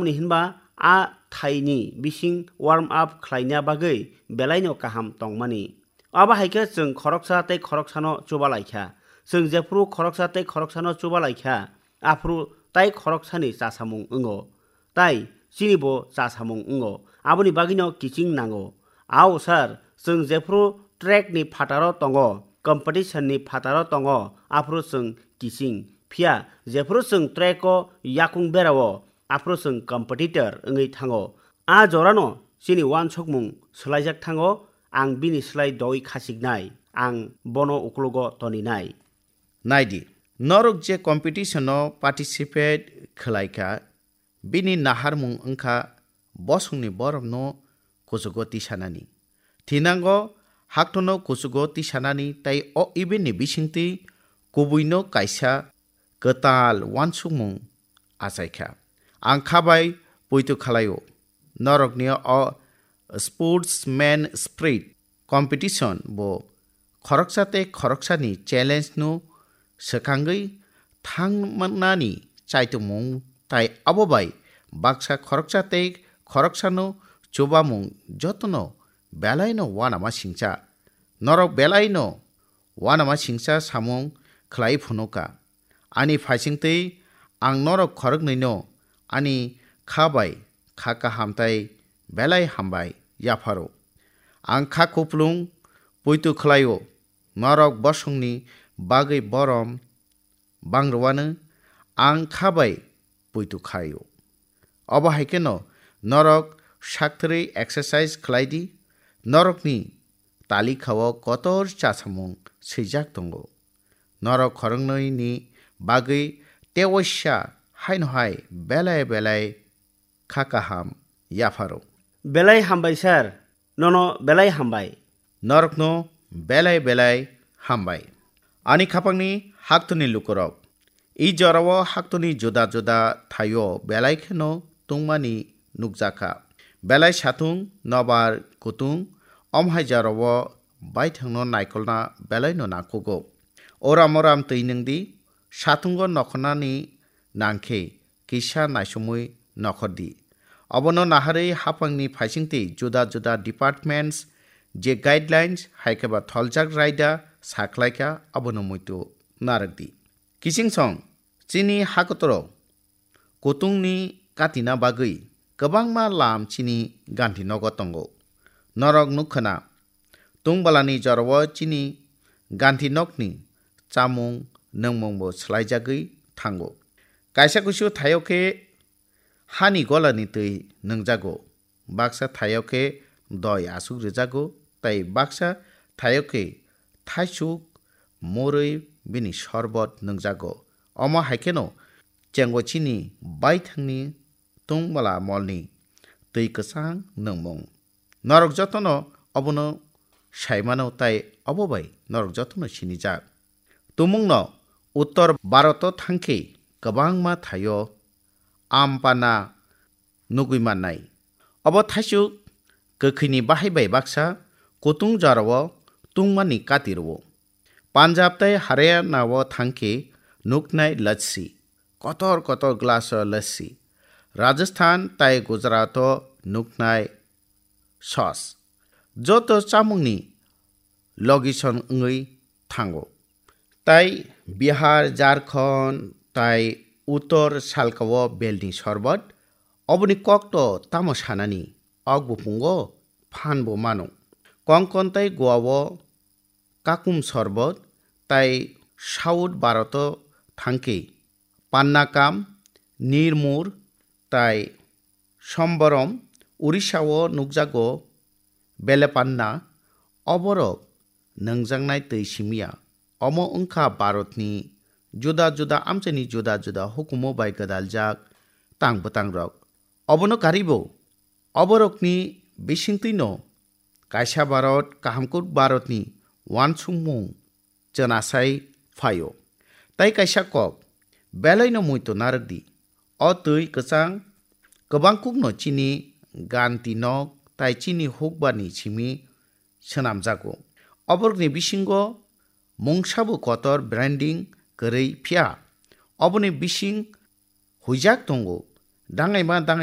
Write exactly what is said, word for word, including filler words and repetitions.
Tamni hinba a thaini bising warm up khlaina bagwi belaino kaham tongmani. Abo hai khe chwng khoroksa tei khoroksano chuba lai kha. Chwng jephru khoroksa tei khoroksano chuba lai kha, aphru tai khoroksani chasamung wngo. Tai chini bo chasamung wngo. Aboni bagwino kiching nango. Ao sir, chwng jephru track ni phataro tongo, competition ni phataro tongo, aphru chwng kiching. Phiya jephru chwng track o yakung berao, aphru chwng competitor wngwi thango. A jorano chini uansukmung swlaijak thango, ang bini slai doi khasiknai, ang bono uklogo toninai. Naidi, norok je competition o participate khlai kha, bini naharmung wngkha bosongni borokno kuchugo tisanani. Thinango haktono kuchugo tisanani tei o event ni bisingtwi kubuino kaisa kwtal uansukmung achaikha. Ang kha bai poito khlaio. Norokni o sportsman spirit competition bo khoroksa tei khoroksani challenge no swkangwi thangmani chaitumung tai abo bai baksa khoroksa tei khoroksano chubamung jotono belaino uanama singcha. Norok belaino uanama singcha samung khlai phunuka. Ani phaisingtwi ang norok khoroknwino ani kha bai kha kaham tai belai hambai yapharo. Ang kha kuplung poito khlaio, norok bosongni bagwi borom bangrwano ang kha bai poito khaio. Obo hai kheno norok sakthwrwi exercise khlai di, norokni talikhao kotor chasamung swijak tongo. Norok khoroknwi ni bagwi tewaisa haino hai belai belai kha kaham yapharo. Belai hambai sir, nono belai hambai. Norokno belai belai hambai. Ani khapangni haktoni lukurok. I jorao haktoni juda juda thaio belai kheno tungmani nukjakha. Belai satung, nobar kutung, omhai jorao baithangno naikolna belaino nangkugo. Oram oram twi nwngdi, satungo nokhornani nangkhe kisa naisomwi nokhordi. Obono naharwi haphangni phaisingtwi juda juda departments je guidelines hai khe ba tholjak raida sakhlaikha abono muitu narwkdi. Kichingsong chini hakotoro kutungni katina bagwi kwbangma lam chini ganti nogo tongo. Norok nukkhwna tungbalani jorao chini ganti nokni chamung nwngmungbo swlaijagwi thango. Kaisa kusu thaio khe hani golani twi nwngjago, baksa thaio khe doi asuk rwjago, tei baksa thaio khe thaisuk morwi bini sorbot nwngjago. Omo hai kheno chengo chini baithangni tungmala molni twi kwchang nwngmung. Norok jotono obono saimano tei obo bai norok jotono sinijak. Tumungno Uttor Bharoto thangkhe kwbangma thaio ampana nugwi mannai. Obo thaisuk kwkhwini bahai bai baksa kutung jorao tungmani kati rwo. Punjab tei Haryana o thangkhe nuknai lassi, kotor kotor glass o lassi. Rajasthan tei Gujarat o nuknai sauce. Joto chamungni location wngwi thango. Tai Bihar, Jharkhand tai Uttor salka o belni sorbot. Oboni kokto tamo sanani, ok bupungo phan bo mano. Konkon tai Goa o kakum sorbot tai South Bharoto thangkhe pannakam, nirmur tai somborom. Orissa o nukjago belepanna. Oborok nwngjaknai twi simiya. Omo wngkha Bharatni juda juda amchaini juda juda hukumu bai gwdaljak tang bwtangrok. Obono karibo oborokni bisingtwino kaisa Bharat, kahamkuk Bharatni uansukmung chwnasai phaio. Tai kaisa kok, belaino muitu narwkdi. O twi kwchang kwbangkukno chini ganti nok tai chini hukbarni simi swnamjago. Oborokni bisingo mungsabo kotor branding kwrwi, phiya oboni bising huijak tongo, dangaima dangai